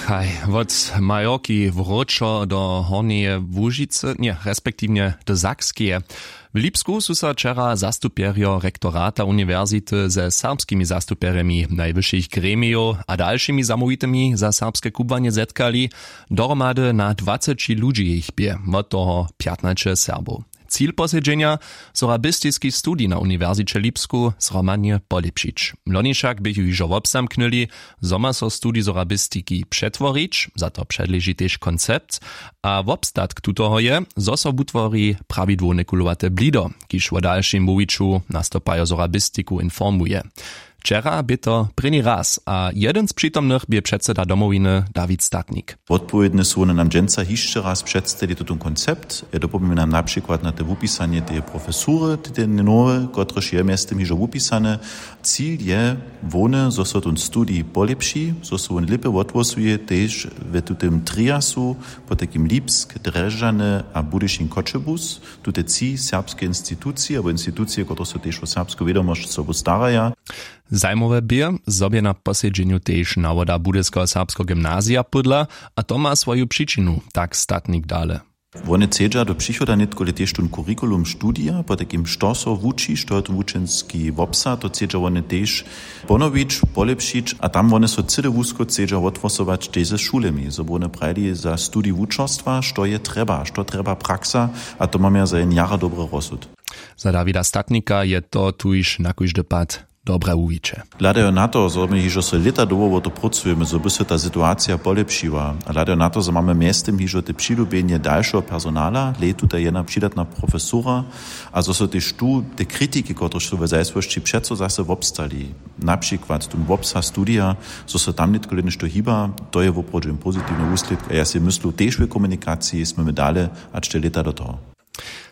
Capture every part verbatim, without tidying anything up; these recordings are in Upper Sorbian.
Haj, wot Majorki wróćo do Hornjeje Łužicy, nje, respektiwnje do Sakskeje. W Lipsku su so wčera zastupjerjo rektorata uniwersity ze serbskimi zastupjerjemi najwyšich gremijow a dalšimi zamołwitymi za serbske kubłanje zetkali. Dohromady na dwaceći ludźi jich bě, wot toho pjatnaće Serbow. Cil posedźenja: sorabistiski studij na Uniwersiće Lipsku zhromadnje polěpšić. Loni wšak běchu hižo wobzamknyli, zo ma so studij sorabistiki přetworić. Za to předleži tež koncept, a wobstatk tutoho je, zo so wutwori prawidłowne kulowate blido, kiž wo dalšim wuwiću nastupajo sorabistiku informuje. Wčera bě to prěni raz a jedyn z přitomnych bě předseda Domowiny Dawid Statnik. Wotpowědne su wone nam dźensa hišće raz předstali tutón koncept. Dopomnjam na přikład na te wupisanje teje profesury, te nowe, kotrež je mjeztym hižo wupisane. Cil je hłowny, zo so tón studij polěpši, zo so wón lěpje wotwłosuje tež w tutym triasu, potajkim Lipsk, Drježdźany a Budyšin, Choćebuz. Tute tři serbske institucije abo institucije, kotrež so tež wo serbsku wědomosć sobu staraja. Zajimawe bě, zo bě na posedźenju tež nawoda budyskeho serbskeho gymnazija pódla, a to ma swoju přičinu, tak Statnik dale. Wone chcedźa do přichoda nětkole tež tón curriculum studija, potajkim što so wuči, što je to wučenski wobsah, to chcedźa wone tež ponowić, polěpšić, a tam wone so cyle wusko chcedźa wotwłosować tež ze šulemi, zo by wone prajili za studij wučerstwa, što je trjeba, što trjeba praksa. A to mamy za jen jara dobry rozsud. Za Dawida Statnika je to tuž na kóždy pad dobre wuwiće. Hladajo na to, zo my hižo so lěta dołho wo to prócujemy, zo by so ta situacija polěpšiła, a hladajo na to, zo mamy mjeztym hižo te přilubjenje dalšeho personala, lej tuta jedna přidatna profesura, a zo so tež tu te kritiki, kotrež su w zajsłosći přeco zase wobstali, na přikład tón wobsah studija, zo so tam nětkole něšto hiba, to je woprawdźe pozitiwny wuslědk a ja sej myslu, tež w komunikaciji smy my dale hač te lěta do toho.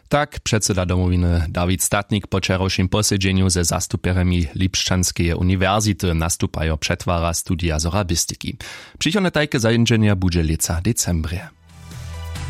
Tak předseda Domowiny Dawid Statnik po wčerawšim posedźenju ze zastupjerjemi Lipšćanskeje uniwersity nastupajo přetwara studija sorabistiki. Přichodne tajke zańdźenje budźe lětsa w decembrje.